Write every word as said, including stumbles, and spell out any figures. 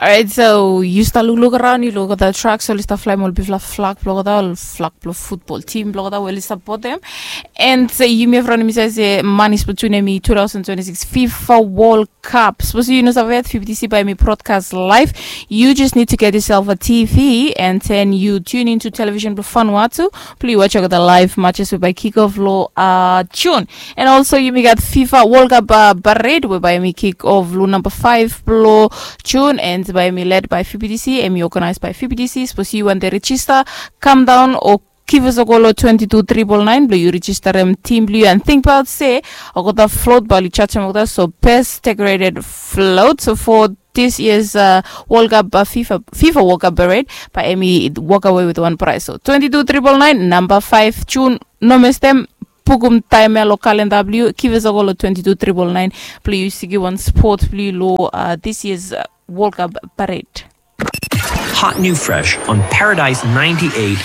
Alright, so yu stap lukluk araon, yu luk olgeta trak, so oli stap flaem ol bigfala flak blong olgeta, ol flak blong futbol tim blong olgeta we oli sapotem. And yumi evriwan yumi save se manis blong tune em i two thousand twenty-six FIFA World Cup. Sapos yu no save yet, F B T C bae hemi brodkas laev. You just need to get yourself a T V and then you tune into television blong Vanuatu blong yu wajem olgeta laev matches we bae kick off long June. And also yumi gat FIFA World Cup parade we bae hemi kick off long namba five blong June and bae hemi led by F B T C, hemi organized by F B T C. Sapos yu wantem rejista, kam daon o give us a call long twenty two triple nine blong yu rejistarem tim blong yu. And tingbaot se olgeta float bae oli jajem olgeta, so best decorated float. So for this year's uh, World Cup uh, FIFA FIFA World Cup parade, bae hemi walk away with one prize. So twenty two triple nine, namba five June, no mestem. Putum taem ya long kalenda blong yu, give us a call long twenty two triple nine blong yu sekiua wan spot blong yu long uh, this year's uh, World Cup parade. Hot new fresh on Paradise ninety-eight